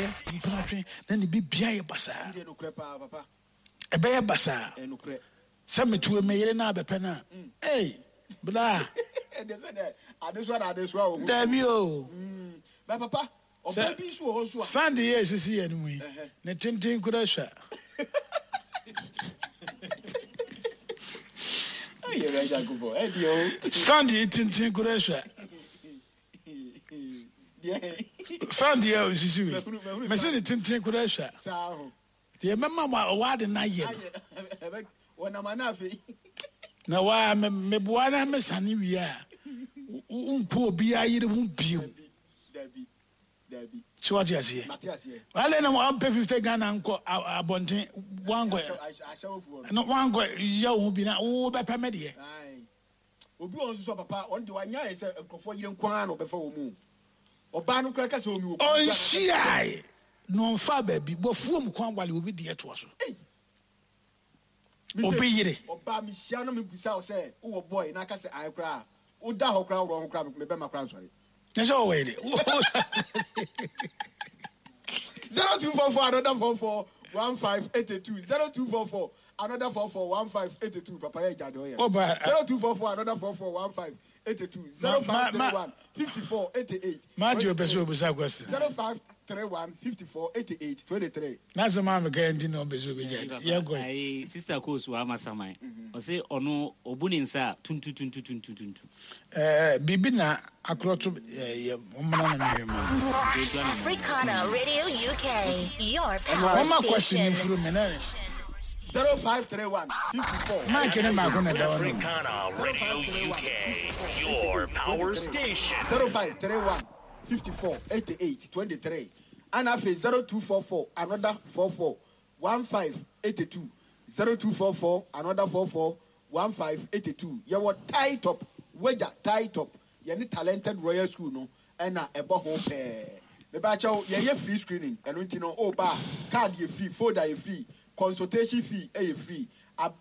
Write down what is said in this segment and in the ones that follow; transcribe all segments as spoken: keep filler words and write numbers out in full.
Mpenatwe na ne bibia yɛ basaa. Ɛbɛyɛ basaa. Sɛ metuo me yere na abɛpɛ no a, ei, bla. Dabi o. Sɛ stand yi a esisi yɛn mu yi, ne tenten kura sua. Stand yi tenten kura sua. Stand yi a osisi wei, mese ne tenten kura sua. Deɛ mɛma w'ade no ayɛ no. Na waa meboa na mesane wie a, wonkɔ obiara yere ho bio. So wate aseɛ? Adɛn na wampɛ fifty Ghana nkɔ abɔnten, wankɔ no wankɔ yɛ wo ho bi na wobɛpɛ me deɛ? Obi wɔ hɔ nso so a papa, ɔno deɛ wanya ayɛ sɛ nkurɔfoɔ yere nko ara na ɔbɛfa wɔn mu. Ɔbaa no koraa ka sɛ ɔmi wɔ kunu. Ɔnhyiae na ɔmfaa baabi, wafuom kwan wale obi deɛ toa so. Obi yere. Ɔbaa mehyia no mebisa wo sɛ wowɔ boy na aka sɛ ae koraa a, woda hɔ koraa worɔ ho koraa me bɛma koraa nsɔre. Nyɛ sɛ wɔwɔ yere. Zero two four four another four four one five eighty two zero two four four another four four one five eighty two papa yɛ gya deɛ ɔyɛ zero two four four another four four one five eighty two zero five three one fifty four eighty eight. Matthew pɛ sɛ obisa question. Zero five three one fifty four eighty eight twenty three. N'asɛm a meka nti na ɔmpɛ sɛ obɛgya yɛnkɔ. Ayi sister Koos wa ama saman. Ɔse ɔno ɔbu ne nsa a tuntu tuntu tuntu tuntu. Ɛɛ biribi na akorɔto yɛ ɔmmra na mehwɛ ma no. Africana Radio U K, your power Wɔma question station. mfiri me na. Zero five three one fifty four. Mike ne baako na ɛda hɔ no. Africana Radio U K, your power station. Zero five three one fifty four eighty eight twenty three. And after zero two four four another four four one five eighty two. Zero two four four another four four one five eighty two. You were tie top, wager tie top. You need talented royal school no. And a ebo home pair. Me ba chow ye ye free screening. And you know oh ba card ye free, folder ye free, consultation fee ye free.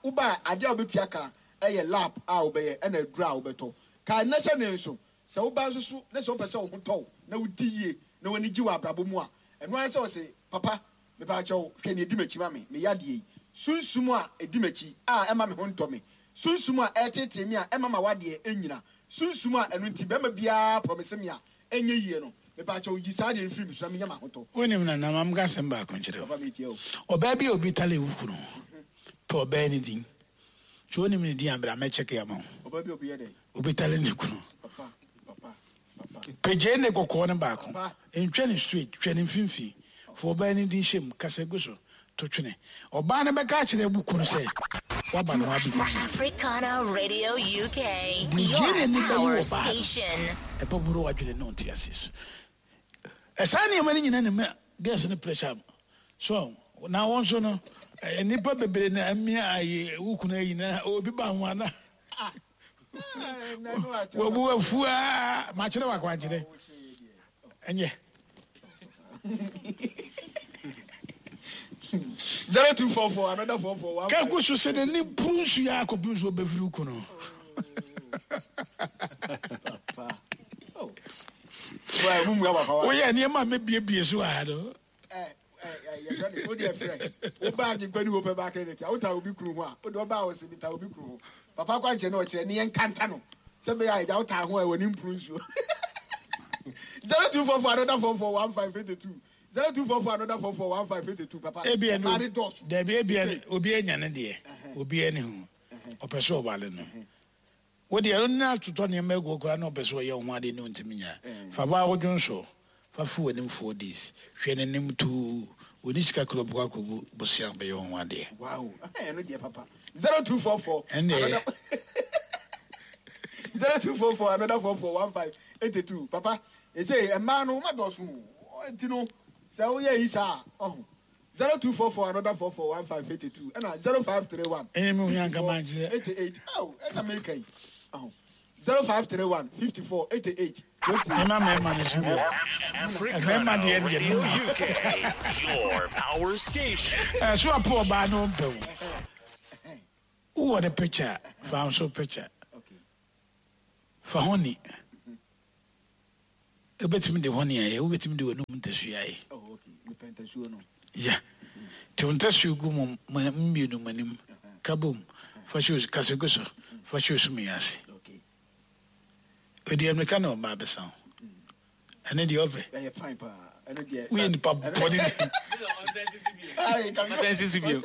Uba adia obetua ka eye lab a obeye ena dura obeto. Ka na hye ne nso. Se wo ba nso so na se wo pese wo ho to na wo di yie na wani gye wa abrabo mu a. Eno an se wo se papa me ba chow hwe ne edi machi ma me me yade yi. Sunsum a edi machi a ema me ho nto me. Sunsum a etete me a ema ma wade enyina. Sunsum a eno nti be ma bia promise me a enye yie no. Me ba chow yi saa de mfiri me so na me nya ma ho to. Wonim na na mam ga sem ba konkyere. Papa me tie o. Oba bi obi tale wo kunu. Pe oba ni din. So wonim ni din abra me check ya ma. Oba bi obi ye dey. Obi tale ni kunu. Papa papa papa. Peje ne kokko ne ba ko. Entwe ne straight, twe ne mfimfi. Fo oba ni din shem kasegu so to twene. Oba ne be ka kire bu kunu se wa ba no abi. Africana Radio U K, Di your jene ni ba power wo ba. station. E pa buru adwene no nti asis. E sa ne mani nyina ne me gas ne pressure. So na won so no nipa bebre na amia ayi wo kunu ayi na obi ba ho ana. Wo bu afua ma kire wa kwankyere. Enye. Zero two four four another four four one. Kaku so se ne prunsu ya akopem so obefiri kunu. Papa. Oh. Well, mumu ya papa. O ye ne ma me bie bie so a do. Eh eh eh ye ready. O dey frɛ. O ba agye kwani wo pe ba credit. O ta obi kunu ho a. O do ba o se bi ta obi kunu ho. Papa kwa nche na o kire ne ye nkanta no. Se be ya ja o ta ho e woni prunsu. Zero two four four another four four one five eight two. Zero two four four another four four one five eight two. Papa. Ebi enu. Mari dos. Debi ebi enu. Obi enya ne de. Obi eni ho. Opeso obale no. Wo de enu na tuto ne mego kura na opeso ye ho ade ne ntimi nya. Fa ba odwon so. Fa fu enim four days. Hwe ne nim tu. Oni sika kro bu akobu bosia be ye ho ade. Wow. Eh no de papa. Zero two four four. Ende. Zero two four four another four four one five eight two. Papa, e say e ma no ma dosu. Ntino se wo ye isa oh. Zero two four four another four four one five eight two and zero five three one. Eh me hu anka man je. Eighty eight. Oh, e na me kai. Oh. Zero five three one fifty four eighty eight twenty. E ma me ma ne su. Africana Radio U K, your power station. Eh so apo ba no mpe wo. Wo the picture, fa so picture. Okay. Fa honi. Wobɛtumi de hɔne ayɛ, wobɛtumi de w'anum ntasua ayɛ. Oh, okay. Mepɛ ntasuo no. Ya. Te wo ntasuo gu mo mmienu mo anim. Ka bom. Fa hyɛ kasa gu so. Fa hyɛ osum yi ase. Okay. Odi mmirika na ɔba abɛsa wo. Ɛne deɛ ɔpɛ. Ɛyɛ fine paa. Ɛno deɛ. Woyɛ nipa bɔne. Ayi, ka mi. Ɔsɛn si so bio.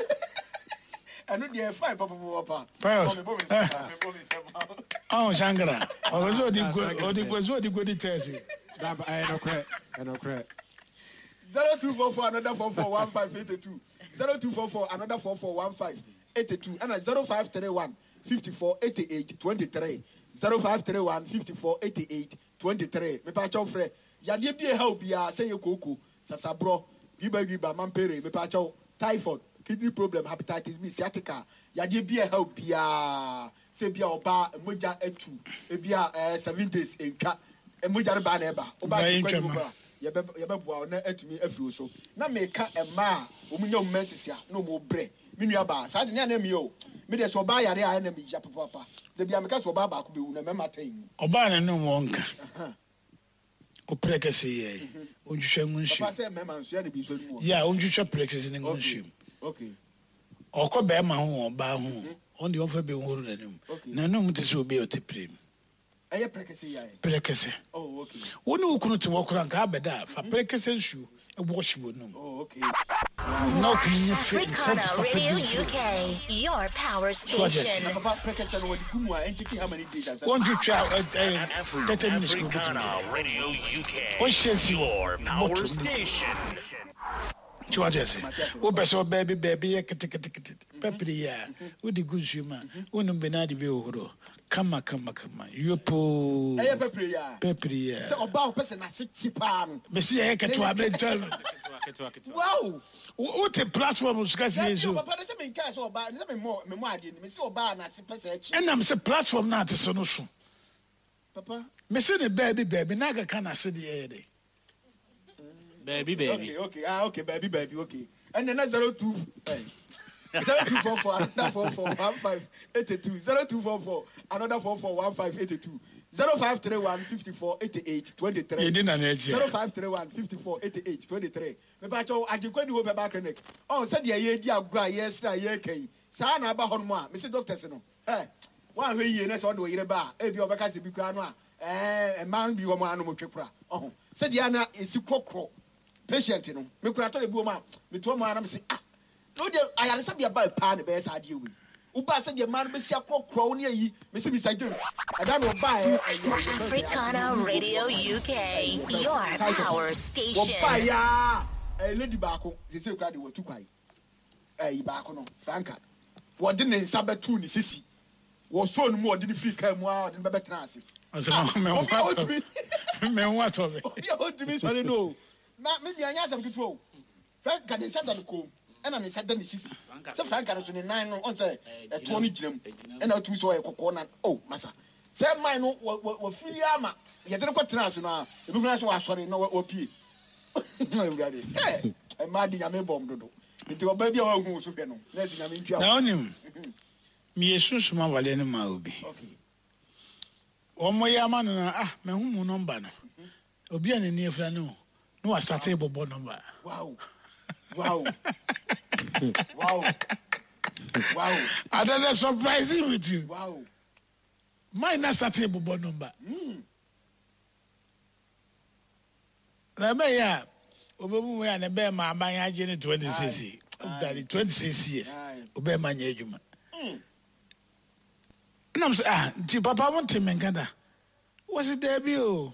Ɛno deɛ fine papapapa. Pius. Bɔ me nsɛm. Bɔ me nsɛm. Ɔn Shankara. Ɔpɛ sɛ ɔdi go ɔdi pɛ sɛ ɔdi godi tɛɛsi. Daba ɛyɛ nokorɛ ɛyɛ nokorɛ. Zero two four four another four four one five eighty two. Zero two four four another four four one five eighty two. Ɛna zero five three one fifty four eighty eight twenty three. Zero five three one fifty four eighty eight twenty three. Mepa kyɛw frɛ. Yadeɛ bi ɛha obiara sɛ yɛ kooko, sasaborɔ, wiba wiba, mampere, mepa kyɛw, typhoid, kidney problem, hepatitis B, sciatica. Yadeɛ bi ɛha obiara sɛ bi a ɔbaa mogya atu, ebi a ɛɛ seven days ntwa, mogya no baa na ɛba. Ɔbaa Baa ti kwan ntwa mu ma. koraa. Yɛbɛ yɛbɛboa wo na atumi afiri wo so. Na meka mmaa a wɔn nya wɔn menses a na wɔn brɛ. Me nua baa saa de ne anam yɛ o. Me deɛ sɛ ɔbaa yare a ɛna me ya papaapa. Dabi a meka sɛ ɔbaa baako bɛwu na mmarima atɛn mu. Ɔbaa n'anum wɔ nka. Ɔpere kɛse yɛ. Ontwitwa ngu nsuo. Papa sɛ mmarima nso yɛ ne bi nso anim wɔ. Ya ontwitwa pere kɛse ne ngu nsuo mu. Okay. Ɔkɔ bɛrima ho wɔ ɔbaa ho. Ɔno deɛ ɔmfa bi nhoro n'anim. Okay. N'anum te sɛ obi a ɔte pere mu. Ɛyɛ pere kɛse yɛ ayɛ. Pere kɛse. Oh okay. Wo ne wo kunu te hɔ koraa nka abɛda a fa pere kɛse nsuo ɛwɔ hye wɔ num. Oh okay. Na okunu nye fe nsɛnti Africana papa bi Radio mfiri. U K, your power station. Na papa pere kɛse no wɔde gu mu a ɛntiki how many days ansa. Wɔntwitwa ɛ ɛ Afri- thirty minutes kò Africana obetumi ayɛ. Radio U K. Ɔnhyɛ nsi wɔ Your power bɔtɔ mu. station. Tí wàá kyerɛ sɛ wopɛ sɛ ɔbaa bi baabi yɛ ketekete pɛpere yi a wode gu nsuo mu a wonum bi na ade bi hohoro kama kama kama yopoo Ɛyɛ pɛpere yi a. pɛpere yi Sɛ a ɔbaa ɔpɛ sɛ n'ase kyi paa no. mesi yɛyɛ ketewa bɛntwa no Ketewa ketewa. Wow. wote platform so ka sie Dabi o so papa de sɛ menkaa sɛ ɔbaa ne sɛ memmɔ memmɔ adeɛ no mesi ɔbaa n'ase pɛ sɛ ɛkyi. ɛnam sɛ platform no ate so no so Papa. mesi ne baabi baabi na akeka n'ase deɛ ɛyɛ de Baabi baabi. Okay, okay, ah, okay, baby, baby, okay. And then that's zero two, eh, zero two four four another four four one five eighty two zero two four four another four four one five eighty two zero five three one fifty four eighty eight twenty three. Yɛdi na n'akyi a. Zero five three one fifty four eighty eight twenty three. Mepa kyɛw agyenkwa ni wo bɛba clinic. Ɔn sɛdeɛ yɛdi agorɔ a yɛsrɛ a yɛreka yi saa na aba hɔ nom a mesi doctors no ɛ wɔahwɛ yie na sɛ ɔde ɔyere ba a ebi ɔbɛka sɛ bi koraa no a ɛɛ mmaa bi wɔ mu anom twe kora ɔho sɛdeɛ ana esi kɔkɔ patient no me kura tɔ de bi wɔ mu a metoa mu a na me se ah na o deɛ ayaresabea ba paa na bɛyɛ saa adeɛ wei woba sɛdeɛ mmaa no bɛsi akorɔkorɔ wo ne ayi mesi Mr James ɛda na ɔbaa ɛ Africana Radio U K, your power station. wɔbaa yaa ɛyɛ lady baako sese kura de wɔtu kwan ɛyi baako no Franka wɔde ne nsa bɛtu ne sisi wɔsɔɔ ne mu wɔde ne firi kaa mu a wɔde ne bɛbɛtena ase. Ɔsɛ Ah, mɛ obi a ho atɔ ɔtumi- me ho atɔ me obi a ɔtumi sɔre no o na me nua nyɛ asɛm ketewa o Franka ne nsa da ne kɔn mu ɛna ne nsa da ne sisi sɛ Franka no so ne nan no ɔn sɛ ɛtoɔ no gyina mu ɛna ɔtumi sɛ ɔyɛ kɔkɔɔ na o masa sɛ man no wɔ wɔ wɔfiri ama yɛde no kɔtena ase no a ebi kura sɛ wasɔre na wɔ- wɔpie Awurade ɛ mmaa de nyame bɔm dodo nti ɔbaa bi a wahu wo so hwɛ no na ɛsɛ nyame ntua na wonim meyɛ sunsum awaleɛ no ma obi Okay. ɔmmɔ yɛ ama no na ah mahu mu nɔmba no obi a n'ani afira no na wasate bɔbɔ nɔmba Wow. Wow. Wow. Wow. adada surprising with you Wow. mine na sate bɔbɔ nɔmba na ɛbɛyɛ a obɛmu wei a ne bɛɛ ma aban agye ne twenty six dade twenty six years Aye. obɛɛ ma nyɛ adwuma nam sɛ ah nti papa mo nte me nka da wɔsi daabi o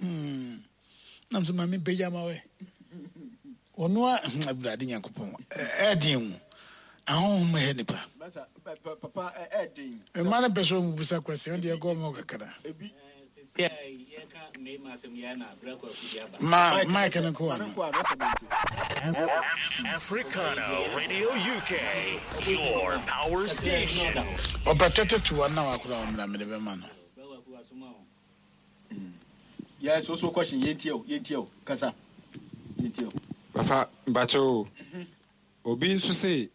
hmm nam sɛ maame mpagya ma wɛ ɔno a Awurade Nyankopɔn ɛ- ɛɛden mu ahonhom ɛyɛ nipa Masa, pa- pa- papa ɛ ɛden. mma no pɛ sɛ ɔmu busa kwasi ɔno deɛ ɛkɔ ɔmo kakra Ebi. Sisi a yɛka mmarima asɛm yi a na abira kwaku de aba. ma mike no kɔ Ma no ano nkɔ ano, sɛ mente. Africana Radio U K, your power station. ɔpɛ tɛtɛ tu wa na wakora ɔmmra mede bɛma no Abira kwaku asoma o. Yes, also question yɛntie o, yɛntie o. Kasa. Yɛntie o. Papa mbakyɛ o. Obi nso se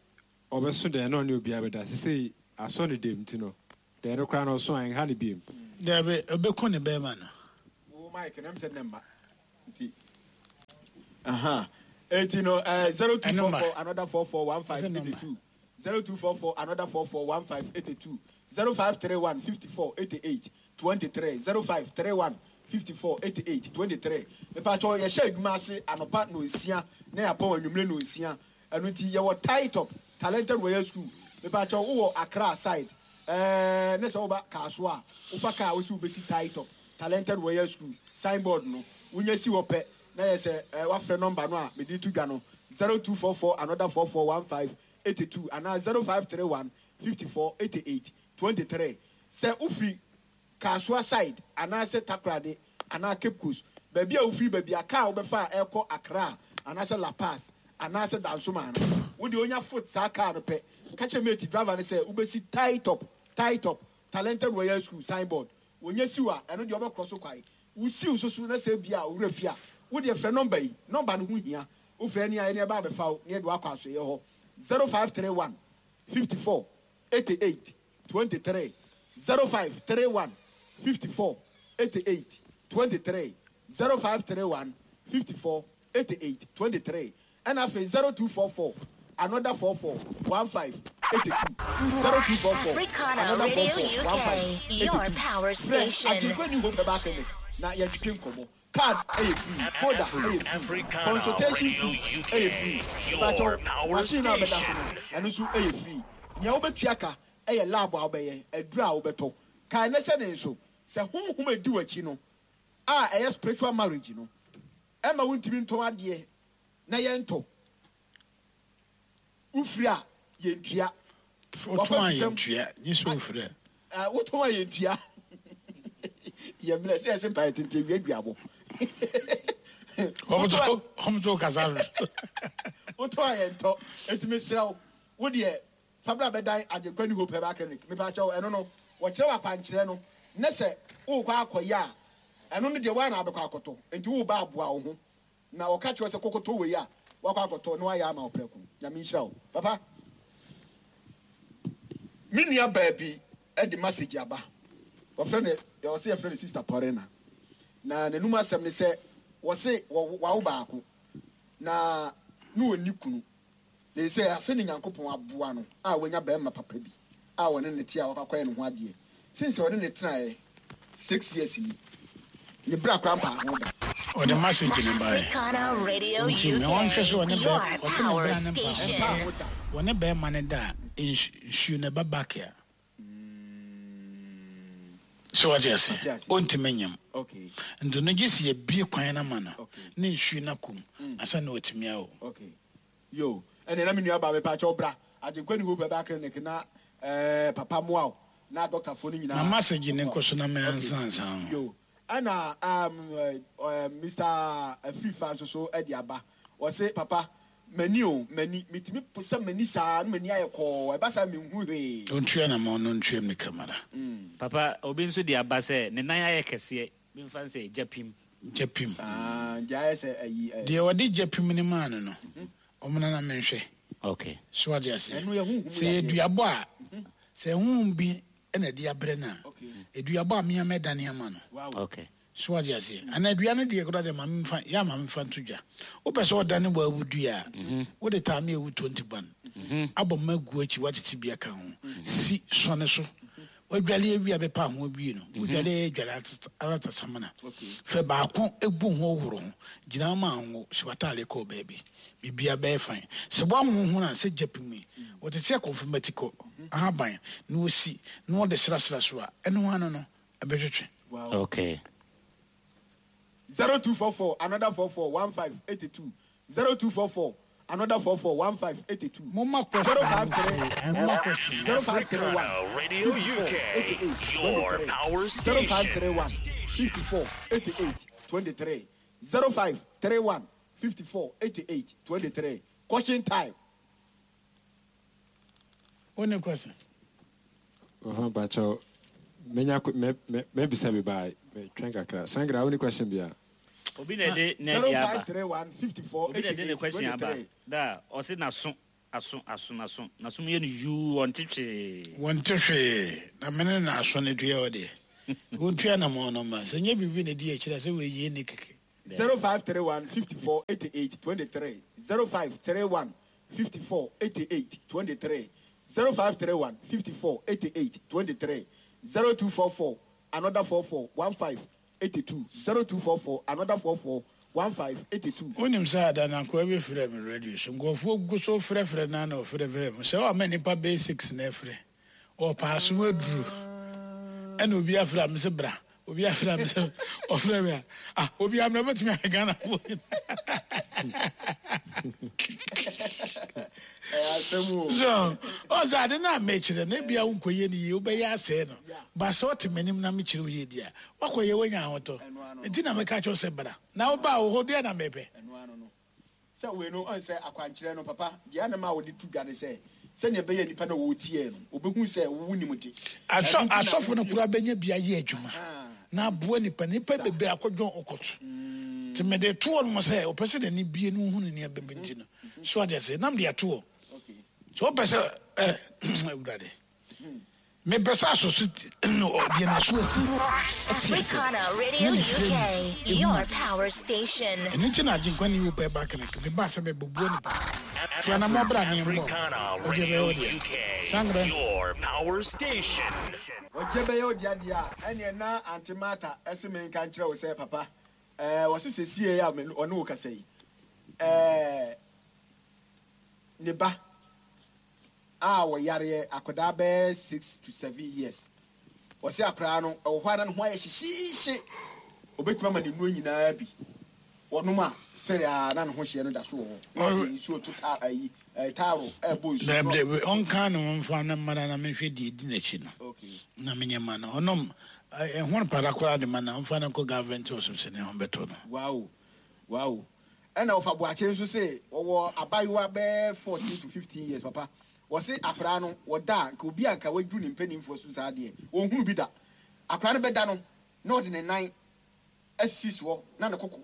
ɔbɛso dɛn na ɔne obi abɛda sese asɔ ne dɛm ti no dɛn no koraa na ɔso a ɛnha ne biem. dabi ɔbɛku ne bɛrima no Wo mic Mike na sɛ ne mma nti aha eti no eh, zero two four four another four four one five eighty two zero two four four another four four one five eighty two zero five three one fifty four eighty eight twenty three zero five three one fifty four eighty eight twenty three. Mepatɔ yɛhyɛ adwuma ase anɔpa na nsia na yɛapɔn anwummerɛ na nsia. Ɛno nti yɛwɔ tie top Talented Royal School. Mepatɔ wowɔ Accra side ɛɛ ne sɛ woba Kaaso a wofa kaa wosi wobɛsi tie top Talented Royal School signboard no wonya si hɔ pɛ na yɛ sɛ ɛɛ wafrɛ number no a mede to dwa no zero two four four another four four one five eighty two anaa zero five three one fifty four eighty eight twenty three. Sɛ wofiri Kasoa side anaasɛ Takoradi anaa Cape Coast baabi a wofiri baabi a kaa wobɛfa a ɛkɔ Accra anaasɛ La Paz anaasɛ Dansoma no wode onya foot saa kaa no pɛ ka kyerɛ mate driver no sɛ wobɛsi tie top tie top Talented Royal School signboard wonya siw a ɛno deɛ wobɛkorɔ so kwae wosiw so so na sɛ bia owura fie a wodeɛ frɛ number yi number no ho hia wofrɛ ne a ɛne ɛba abɛfa wo ne ɛde wakɔ asoɛyɛ hɔ zero five three one fifty four eighty eight twenty three zero five three one fifty four eighty eight twenty three zero five three one fifty four eighty eight twenty three ɛna afei zero two four four another four four one five eighty two zero two four four Africana another four Radio four one five U K, eighty your two. power Frɛ station. Agyenkwa New Hope Herbal Clinic na yɛntwetwe nkɔmmɔ. Card ɛyɛ free, folder ɛyɛ free, Africana consultation Radio fee U K, ɛyɛ free. your Mepakyɛw, power machine no a bɛda so station. no ɛno nso ɛyɛ free. Nea wobɛtua ka ɛyɛ lab a wobɛyɛ, aduru a wobɛtɔ. Kae na hyɛ ne nso sɛ honhom a ɛdi w'akyi no a ɛyɛ spiritual marriage no ɛma wontumi ntɔn adeɛ na yɛntɔ. Wofiri a yɛntua. Wotɔn a yɛntua, gye sɛ wofiri a. Ah, wotɔn a yɛntua. Yɛmmerɛ sɛ yɛsɛ mpaeɛ tenten wie aduabɔ. Ɔmto ɔmto kasa no. Wotɔn a yɛntɔ. Enti mesrɛ wo, wo deɛ Fabra bɛdan Agyenkwa New Hope Herbal Clinic. Mepakyɛw ɛno no, wɔkyerɛ wo akwankyerɛ no ne sɛ wokɔ akɔyɛ a, ɛno no deɛ woa na wabɛkɔ akɔtɔ. Enti woba aboa wo ho. Na wɔka kyerɛ wo sɛ kɔkɔtɔ wei a, wakɔ akɔtɔ na wayɛ ama wo prɛko. Nyame nhyira wo. Papa, me nua baabi ɛde message aba. Wɔfrɛ no, wɔse yɛfrɛ no Sister Porina. Na n'anum asɛm ne sɛ, wɔse wawo baako na ne ɔnni kunu. Na ɛsɛ afe ne Nyankopɔn aboa no a wanya bɛrima papa bi a wɔne ne te a wakɔyɛ ne ho adeɛ. Since ɔne ne tenaeɛ six years ni, ne bra kora mpa ho da. Ɔde message ne baeɛ. Africana Radio Nti U me wɔnhwɛ sɛ ɔne K, your bɛ- ɔse ne power bra ne mpa ho station. Mpa ho da. Wɔne bɛrima ne da a, nsu- nsuo no ɛba back a. So wɔte ase? Ate ase. Ɔntumi nyam. Okay, Nti no gye sɛ yɛbie kwan no ama no Okay. ne nsuo no akom ansa na watumi awo. okay. Yo, ɛnna na me nua baa mepakyɛw bra Agyenkwa New Hope Herbal Clinic na ɛɛ papa mmoa wo na doctorfoɔ no nyinaa. Na message ne nkɔ so na me ansa ansa ho. Yo, ɛna um, uh, Mister Afrifa nso so ɛde aba. Wɔse papa m'ani o m'ani metumi sɛ m'ani saa na m'ani ayɛ kɔɔ ɛba saa menhu hwee. Ɔntua na ma ɔno ntua me kamara. Papa, obi nso de aba sɛ ne nan ayɛ kɛseɛ memfa sɛ gya pim. Gya pim. Ah, gya ayɛ sɛ ayi ɛ. Deɛ wɔde gya pim ne maa no no, ɔmo nana menhwɛ. Okay. So wate ase. Ɛno yɛ honhom Sɛ yɛ yadeɛ. duabɔ a, sɛ honhom bi ɛna ɛde abrɛ no a, Okay. eduabɔ a mea mɛdane ama no. Wow. Okay. So wate ase. Ana dua no deɛ koraa deɛ ma memfa, yɛ ama memfa nto dwa. Wopɛ sɛ ɔdane wɔ awu dua a, wode taame awu twenty one. Abɔ mma gu akyi watete bi aka ho. Si sɔne so. Wadwale awie a bɛpa ho awie no. Wodwale adwale aratasamana. Fɛ baako egu ho horo ho. Gyina ma ho si wataale kɔ baabi. Bibia bɛyɛ fine. Sɛ woanho ho na sɛ gya pim yi, wɔtete akɔmfomati kɔ ahaban na wosi na wɔde srasra so a, ɛno ano no ɛbɛtwetwe. Wow. Okay. Zero two four four another four four one five eighty two zero two four four another four four one five eighty two. Moma question. Zero five three. Moma question. Zero five three one. Africana Radio U K, eighty-eight, your twenty-three. power Zero five three station. one fifty four eighty eight twenty three zero five three one fifty four eighty eight twenty three. Question time. Only question. Wɔfa mpakyɛw, menya me me mebisa bi baa metwɛn kakra. Sangra, wo ni question bia? Obi na ɛde ne Zero de aba. five three one fifty four Obi na eighty ɛde ne eight question twenty aba. three. Da, ɔse n'aso aso aso n'aso n'aso mu yɛ no yuu ɔnte hwee. Wɔnte hwee na mene na aso no dua wɔ deɛ. Wɔntua namɔ no ma sɛ nyɛ biribi na di akyirɛ sɛ wɔyie ne kɛkɛ. zero five three one fifty four eighty eight twenty three zero five three one fifty four eighty eight twenty three zero five three one fifty four eighty eight twenty three zero two four four another four four one five eighty two zero two four four another four four one five eighty two. Wonim sɛ ada na nkoa bi frɛ me radio so, nkurɔfoɔ gu so frɛfrɛ no na ɔfrɛfrɛ me sɛ ɔma nnipa bɛyɛ six na ɛfrɛ ɔpaa so aduru, ɛna obi afrɛ a me sɛ bra, obi afrɛ a me sɛ ɔfrɛ me a, ah, obi amena bɛtumi ayɛ Ghanafoɔ. So ɔsɛ ade no a mekyerɛ no ebia wonkɔyɛ no yie, wobɛyɛ asɛe no, ba sɛ ɔte m'anim na mekyerɛ wo yie di a, woakɔyɛ woanya ahotɔ. Nti na meka kyerɛ wo sɛ bra na wobaa wo hɔ deɛ na mepɛ. Sɛ wei no ɔn sɛ akwankyerɛ no papa deɛ anam a wɔde to dwa ne sɛ sɛnea ɛbɛyɛ nipa na wɔtie no wɔbɛhu sɛ wo nim de. Asɔ asɔfo no koraa bɛnya bi ayɛ adwuma na aboa nipa nipa bebree akɔdwɔn ɔkɔto. Nti mede toɔ no sɛ ɔpɛ sɛ n'ani bie no hu ne nneɛma bi nti no so ade ase nam de atoɔ. So ɔpɛ sɛ ɛ Awurade mepɛ sɛ asɔso deɛ n'aso asi ɛte ase. Africana Radio Na ne frɛ U K, mi, ehu your ade. power station. Ɛno nti na Agyenkwa ne wo pɛ ba kene me ba sɛ mebɛbua nipa. Tia na mɔbra ne mmɔ. Africana Ɔgye Radio bɛyɛ wo deɛ. U K, Sangre. your power station. Ɔgye bɛyɛ wo deɛ deɛ a, ɛneɛ na Auntie Martha ɛse me nka nkyerɛ wo sɛ papa, ɛɛ, wɔse sɛsie a me ɔne wo kasa yi, ɛɛ, ne ba a wɔyareɛ akwadaa bɛyɛ six to seven years. Wɔse akwadaa no, ɛwɔ hɔ a na ne ho ayɛ hyehyeehye. Obɛtumi ama ne nnuro nyinaa bi. Wɔnom a, still a na ne ho hyeɛ no da so wɔ hɔ. Na ɔde nsuo to ta-, ayi, ɛɛ, taaro ɛbɔ nsuo. Dɛbi, dɛbi, ɔnka ne ho mfa ne mmara na menhwɛ deɛ edi n'akyi no. Okay. Na menyɛ ma no. Ɔnom, ɛ, ɛho no para koraa de ma no, ɔmfa no nkɔ government hospital ne ho bɛtɔ no. Wow. Wow. Ɛna ɔfa Boakye nso se, ɔwɔ abayewa bɛyɛ fourteen to fifteen years, papa. Wɔse akwadaa no, wɔda a, nka obi a nka waduru ne mpanimfoɔ so saa deɛ, ɔnhunu bi da. Akwadaa no bɛda no, na ɔde ne nan asisi soɔ, na ne koko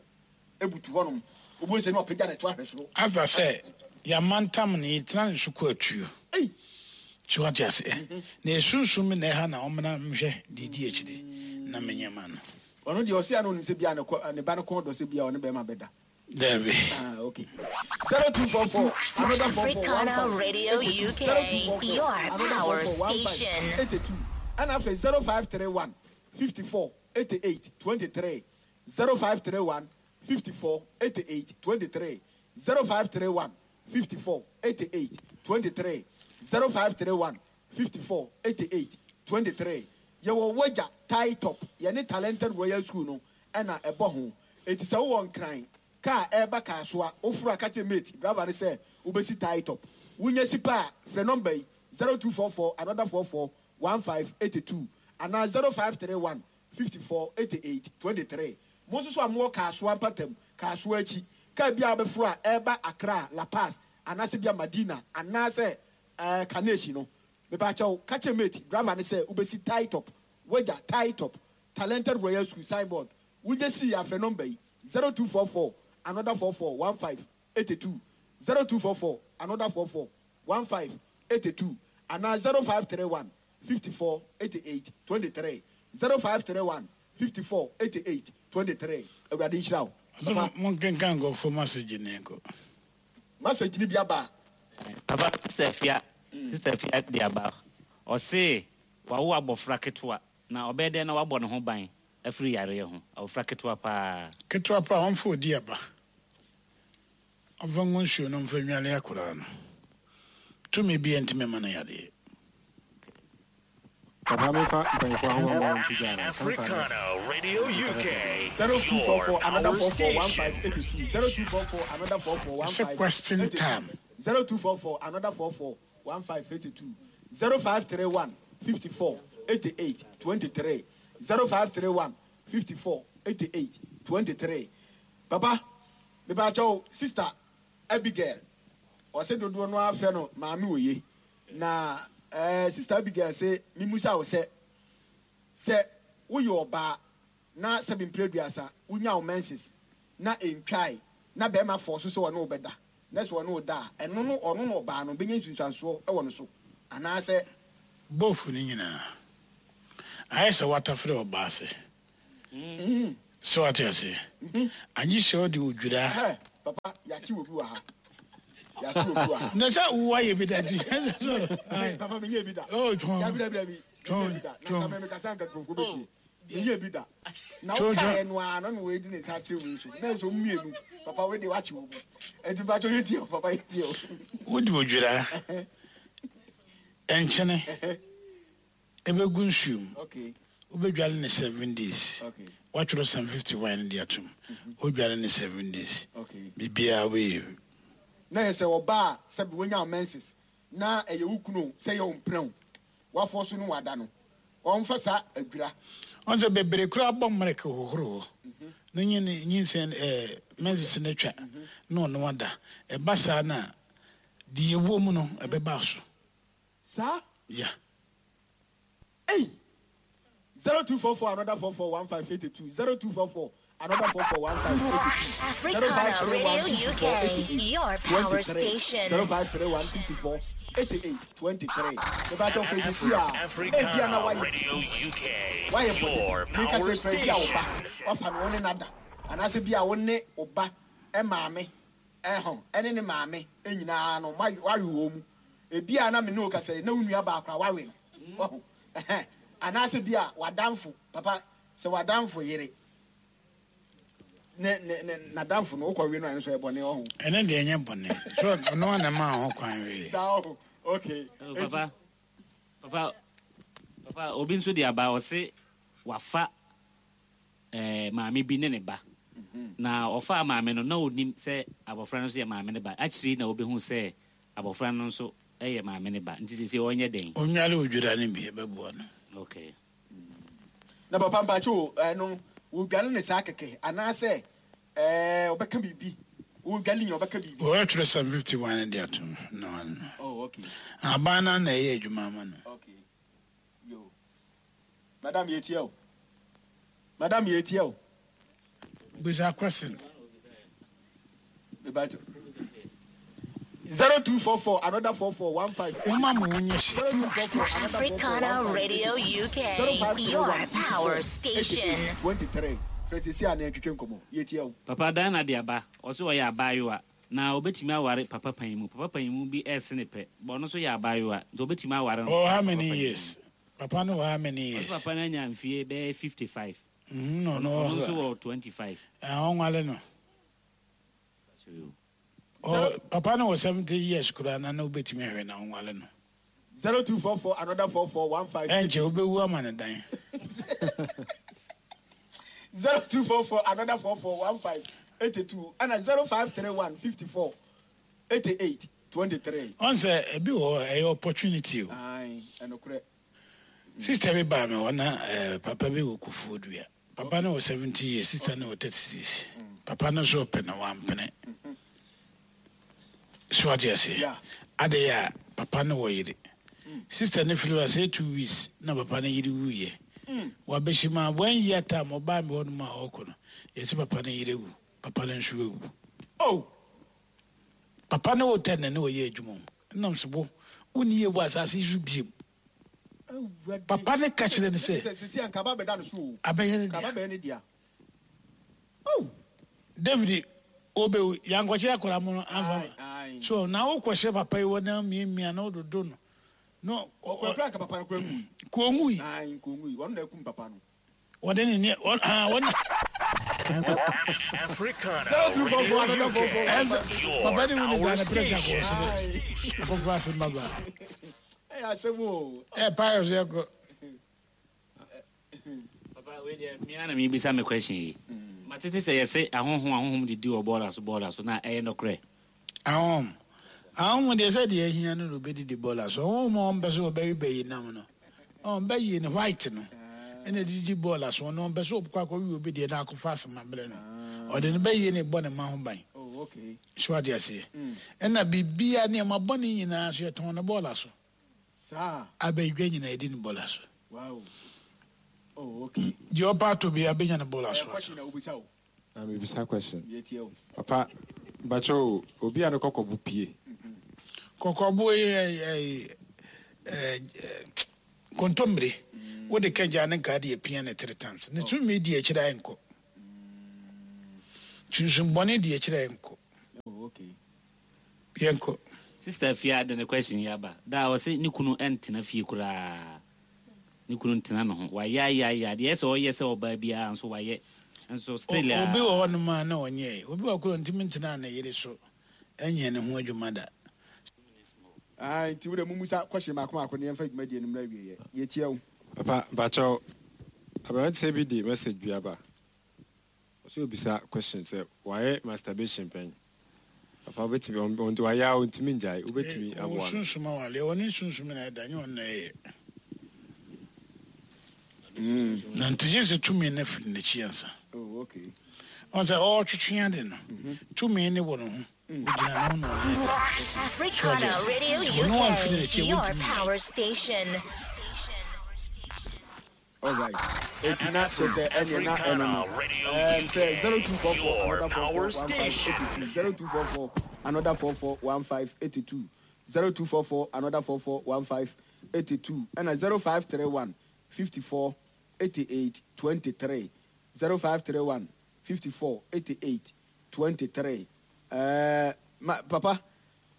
ebutu hɔnom. Obo nsɛ na ɔpagya ne to ahwɛ soro. Asa sɛ, yɛamantam no, yɛtena ne so kɔ atuo. Ei! So wate ase? Na esunsum na ɛha na ɔmmra nhwɛ deɛ edi akyiri na menyɛ ma no. Ɔno deɛ ɔse ano nim sɛ bia ne kɔ, ne ba no kɔn dɔ sɛ bia ɔne bɛrima bɛda. Dabi. Ah, okay. Zero two four four, another four four, one Africana five, Radio eight two. U K, Zero two four four, your another power four four, one five, station. eight two. And after zero five three one, fifty four, eighty eight, twenty three. Zero five three one, fifty four, eighty eight, twenty three. Zero five three one, fifty four, eighty eight, twenty three. Zero five three one, fifty four, eighty eight, twenty three. You were wager tie top. You need talented royal school no. And a ebo It is a one crime. Car eba car soa ofura catch mate. Driver say ubesi tie top. Wunye sipa fre number zero two four four another four four one five eighty two and now zero five three one fifty four eighty eight twenty three. Most so amwo car soa patem car soa chi. Car bia befura eba Accra La Paz anase bia Madina anase eh Kaneshi no. Me ba chow catch mate driver ne say ubesi tie top. Wager tie top. Talented Royal School signboard. Wunye si afre number zero two four four another four four one five eighty two. Zero two four four another four four one five eighty two and now zero five three one fifty four eighty eight twenty three. Zero five three one fifty four eighty eight twenty three. Awurade nhyira wo. So, Papa. mon kenkan go for message ne ko. Message ni bia ba. Papa, Sister Fia, Sister Fia de aba. O se wa wo abofra ketewa na obede na wabɔ ne ho ban afiri yare ho. Abofra ketewa pa. Ketewa pa onfo di aba. Ɔmfa ngo nsuo no mfa nwale akwadaa no. Tumi bi ntumi ma no yadeɛ. Papa, me fa mpanyinfoɔ ahoma ma wɔn ti gya no. Africana Radio U K. Zero two four four, Your another power four four, one station. five eight two. Zero two four four, another four four, one It's a five question eight two. time. Zero two four four, another four four, one five eight two. Zero five three one, fifty four, eighty eight, twenty three. Zero five three one, fifty four, eighty eight, twenty three. Papa, me ba chow sister Abigail. Ɔsɛ dodoɔ no afrɛ no maame oye. Na, eh, sister Abigail sɛ mimusa wo sɛ, sɛ woyɛ ɔbaa na sɛbi mpere aduasa, wonya wo menses na entwae na bɛrima fɔ so sɛ ɔne wo bɛda. Na sɛ ɔne wo da a, ɛno no, ɔno no ɔbaa no, bɛnya nsunsuansoɔ ɛwɔ ne so. Anaasɛ Both ne nyinaa. Ayɛ sɛ watafere ɔbaa ase. Sɛ wate ase. Agye sɛ ɔde odwira. Papa, yɛakye obi wɔ ha. Yɛakye obi wɔ ha. Na sɛ woayɛ bi da nti. Papa, menyɛ bi da. Oh, twɔn. Dabi, dabi, dabi. Twɔn, Menyɛ bi da. twɔn. Na nka mekasa nka nkurɔfoɔ bɛtie. Menyɛ bi da. Na Twɔn, wokaeɛ twɔn. no ara, na na wɔadi ne nsa akyerɛ wei so. Na ɛsɛ mmienu. Papa, wei deɛ woakye wo mu. Enti mpakyɛ yɛtie o, papa, yɛtie o. Wode odwira, nkyene, ɛbɛgu nsuo mu. Okay. Wobɛdwale ne seven days. Okay. Woatwerɛ Psalm fifty-one de atom. Wodwale ne seven days. Okay. Biribiara wobɛyɛ. Na yɛ sɛ ɔbaa sɛ wonya menses na ɛyɛ wo kunu sɛ yɛ wo mprɛ wo. Wafɔ so no wada no. Ɔmfa saa adwira. Ɔn sɛ bebree koraa bɔ mmerɛk hohoro hɔ. Na nye ne nyinsɛn ɛɛ menses no atwa na ɔno ada. Ɛba saa na deɛ ɛwɔ mu no ɛbɛba so. Saa? Yeah. Hey! zero two four four another four four one five eight two zero two four four another four four one five eight two. Africana Radio U K, your power station. Zero five three one fifty four eighty eight twenty three. The battle for this year. Africana Radio U K, Why your power station. Wafa no one nada. And as be a one oba e maame e ho ene ne maame e nyina no why wo mu. E bia na me no ka say na unua ba akra wawe no. Oh. And as be a wadamfo papa se wadamfo yere. Ne ne ne nadamfo no okɔ we no anso e bone oho. Ene de enye bone. So no na ma ho kwan we. So okay. Oh, papa. Papa. Papa obi nso de aba o se wafa eh maame bi ne ne ba. Na ofa maame no na onim se abofra no so ye maame ne ba. Actually na obehu se abofra no nso eye maame ne ba. Nti se onye den. Onwale odwira ne bi e beboa no. Okay. Na papa mbacho eh no wo dwale ne saa keke ana se eh obeka bibi wo dwale nya obeka bibi o twerɛ Psalm fifty-one de atom no no. Oh okay. Abana na eye adwuma ma no. Okay. Yo. Madam yetie o. Madam yetie o. Bisa question. Mbacho. zero two four four another four four one five. Africana Radio U K, your power station. twenty-three. Papa Dana de aba, also ya abayewa. Na obetimi aware papa panyimu. Papa panyimu bi esene pe. Bo no so ya abayewa. Nti obetimi aware no. Oh, how many years? Papa no how many years? Papa na nya mfie be fifty-five. Mm, no no. So twenty-five. Ah, onwale no. Oh, Papa no was seventy years kura na na obetimi ahwe na onwale no. zero two four four another four four one five. Enche obewu ama ne dan. zero two four four another four four one five eighty two and zero five three one fifty four eighty eight twenty three. On say ebi wo e opportunity o. Ai, enokre. Sister bi ba me wona papa bi wo kufodua. Papa no was seventy years, sister no was thirty-six. Papa no so pe na wampene. So what you say? Yeah. Ade ya papa no wo yire. Sister ne firi say two weeks na papa no yire wuye. Wa beshima one year time oba me wonu ma okọ no. Yesi papa no yire wu. Papa no nso wu. Oh. Papa no wo ten na wo ye adwuma. Nam so bo woni ye wo asase su biem. Papa ne ka kire ne se. Sisi anka ba beda no so o. Abeye ne dia. Ka ba ne dia. Oh. David obe yankwache akora mo no anfa. So na wo kwhye papa yi wo na miamia na ododo no. No, okwa ka papa no kwa ngu. Ko ngu yi. Ai, ko ngu yi. Won na ekum papa no. Wode ne ne ah won Africana Radio U K. Papa ni woni za na pressure ko so. Ko pass maba. Eh asemo. Eh pious ye ko. Papa we dey me na me bisa me question yi. Matete say yese ahonhom ahonhom didi obola so bola so na eh no kre. Ahonhom. Ahonhom dey say dey hia no obedi di bola so. Ahonhom on be so obewi be nam no. On be yi ni white no. Ene didi bola so no be so obkwa akwa wi obedi na akofo asema bre no. Ode no be yi ni bo ne ma ho ban. Oh okay. So what you say? Ena bibia ne ma bo ne nyina so ye ton no bola so. Sa abedwa nyina edi ni bola so. Wow. Oh okay. Di opa to bi abenya ne bola so. Question na obisa o. Na me bisa question. Papa bacho obi ano kokobu pie. Kokobu eh eh eh kontombre. Wode ka gya ne nka de apia ne three times. Ne tumi di akyire a ɛnkɔ. Sunsumbɔne di akyire a ɛnkɔ. Oh, okay. Yɛnkɔ. Sister Fia de ne question yi aba. Da a ɔse ne kunu ɛntena fie koraa. Ne kunu ntena ne ho. Wayɛ ayɛ ayɛ adeɛ sɛ ɔyɛ sɛ ɔbaa biara nso wayɛ. Nso still a. Obi wɔ hɔnom a na ɔnyɛe. Obi wɔ koro ntumi ntena ne yere so. Ɛnyɛ ne ho adwuma da. Ah, nti wo de mumusa question baako baako ne yɛmfa dwumadie no mmra awieɛ. Yɛtie wo. Papa, mpakyɛw, aberanteɛ bi de message bi aba. Ɔsɛ obisa question sɛ wayɛ masturbation pɛn. Papa, wobɛtumi, ɔnti wayɛ a ɔntumi ngyae, wobɛtumi aboa no. Sunsum awale, ɔne sunsum na ɛda, nyɛ ɔno na ɛyɛ. Na nti gye sɛ tumi no firi n'akyi ansa. Oh, okay. Ɔn sɛ ɔretwetwe ade no, tumi ne wɔ ne ho. Ogyina ne ho na ɔne ɛda. Africana Radio U K, your power station. All right. Eti na kyerɛ sɛ ɛneɛ na ɛno no. Ɛm sɛ zero two four four another four four one five eighty two zero two four four another four four one five eighty two zero two four four another four four one five eighty two ɛna zero five three one fifty four eighty eight twenty three zero five three one fifty four eighty eight twenty three. Ɛɛ ma papa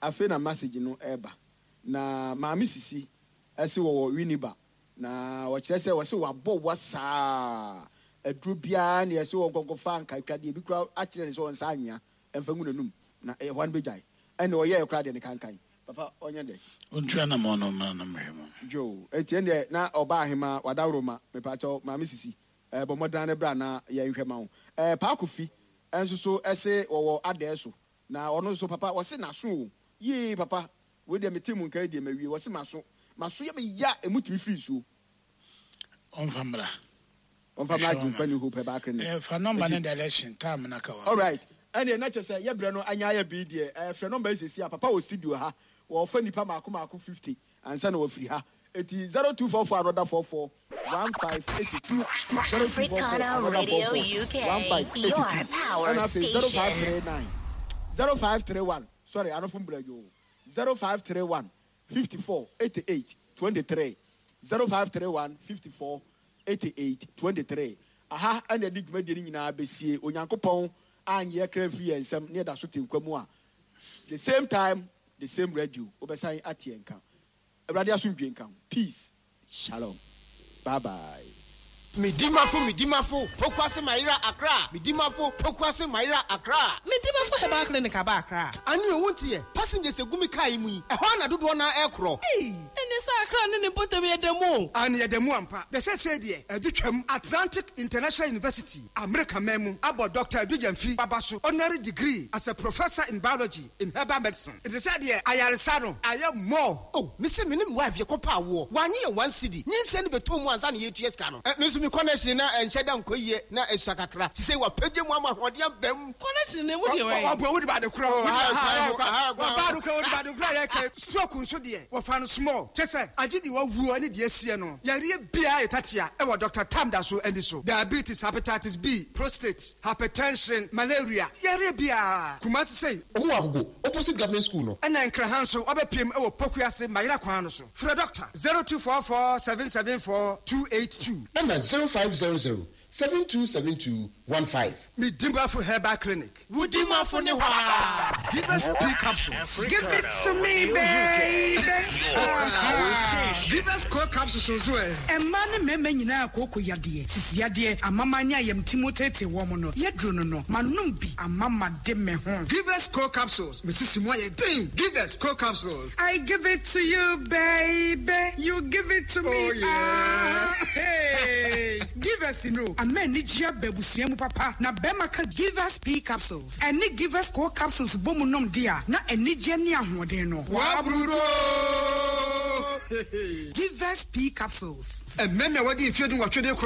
afei na message no ɛɛba na maame sisi ɛsi wɔwɔ Winneba na wɔkyerɛ sɛ wɔsɛ wabɔ wa saa aduro biara ne yɛsɛ wɔn nkɔnkɔfa nkaetwadeɛ bi kura akyerɛ ne sɛ wɔn nsa anwea ɛmfa ngu n'anum na ɛyɛ hɔ no bɛgyae ɛna ɔyɛ ɛkora deɛ ne kankan papa ɔnyɛ dɛ. Ontua na ma ɔno mmra na mmɛhwɛ mu. Jo, eti ɛndeɛ na ɔbaa ahema wadaworo ma mepakyɛw maame sisi ɛɛ bɔ mmɔden ne bra na yɛnhwɛ ma wo. Ɛɛ paako fi ɛnso so ɛse wɔwɔ adɛɛ so na ɔno nso papa wɔse n'aso o yee papa wei deɛ mete mu nka deɛ ma wie wɔse m'aso m'aso yɛ me ya emu tumi firi nsuo. Ɔmfa mmra. Ɔmfa mmra agye nkwa ne hope ɛbaa clinic. Ɛɛ fa number ne direction time na ka wa. All right, ɛnneɛ na kyerɛ sɛ yɛbrɛ no anya ayɛ bii deɛ ɛɛ frɛ number yi sɛsi a papa wɔ studio ha wɔfa nipa maako maako fifty ansa na wɔfiri ha eti zero two four four another four four one five eighty two zero two four four Africana another four Radio four U K, one five eighty your two power ɛna afei zero five station. three nine zero five three one sorry anofo mbura yo zero five three one fifty four eighty eight twenty three zero five three one fifty four eighty eight twenty three aha ɛna ɛde dwumadie no nyinaa bɛsie onyankopɔn anyɛ kra firi yɛn nsɛm ne yɛda so te nkwa mu a the same time the same radio wobɛsan ate yɛn nka awurade asomdwe nka ho peace shalom bye bye. Medimafo medimafo pokuase mayera Accra medimafo pokuase mayera Accra. Medimafo Herbal Clinic aba Accra. Ane owu nteɛ passengers egu mi kaa yi mu yi ɛhɔ na dodoɔ na ɛkorɔ. Ei, ɛne sɛ Accra ne ne mpɔtam yɛ dɛm o. Ane yɛda mu ampa dɛ sɛ sɛ deɛ ɛde twam Atlantic International University Amerika man mu abɔ Dr Adu baba so honorary degree as a professor in biology in herbal medicine ɛte sɛ deɛ ayaresa no ayɛ more. O mesi me ne me wife yɛkɔpa awoɔ wanye yɛ one cedi nyinsɛn no bɛtɔ mu ansa ne yɛtua sika no ɛ me nso me connection na ɛnhyɛ da nkɔ yie na ɛsua kakra te sɛ wapagye mu ama ahoɔden aba mu. Connection ne mu deɛ wɔyɛ. Ɔbɔ wode baade korɔ Oh, ɔbaade korɔ wode baade korɔ yɛka stroke nso deɛ wɔfa no small kyɛ sɛ agye de wawuo ne deɛ asie no yareɛ biara yɛ tatea ɛwɔ Dr Tam da so ani so diabetes hepatitis B prostate hypertension malaria yareɛ biara Kumase sei. Ɔmo wɔ Agogo opposite government school no. Ɛna Nkraha nso wabɛpiem ɛwɔ Pokuase Mayera kwan no so frɛ doctor zero two four four seven seven four two eight two. Ɛna zero five zero zero seven two seven two one five. Medimafo Herbal Clinic. Wodimafo ne hɔ a. Give us P capsules. Give it to me, baby. Your power station. Give us co capsules nso ɛ. Mmaa ne mmarima nyinaa kooko yadeɛ sisi yadeɛ amama ne ayamtimu tete wɔn no yɛduro no no manom bi amama de me ho. Give us co capsules. Mesisi mu ayɛ den. Give us co capsules. I give it to you, baby. You give it to me. Oh, yeah. Ah, hey. Give us no. Ama anigye aba abusua mu papa na bɛrima ka Give Us P capsules ɛne Give Us Co capsules bɔ mu nom de a na anigye ne ahoɔden no. Wabrudo. Give Us P capsules. Mmarima a wɔde mfeɛ du nwɔtwe de korɔ.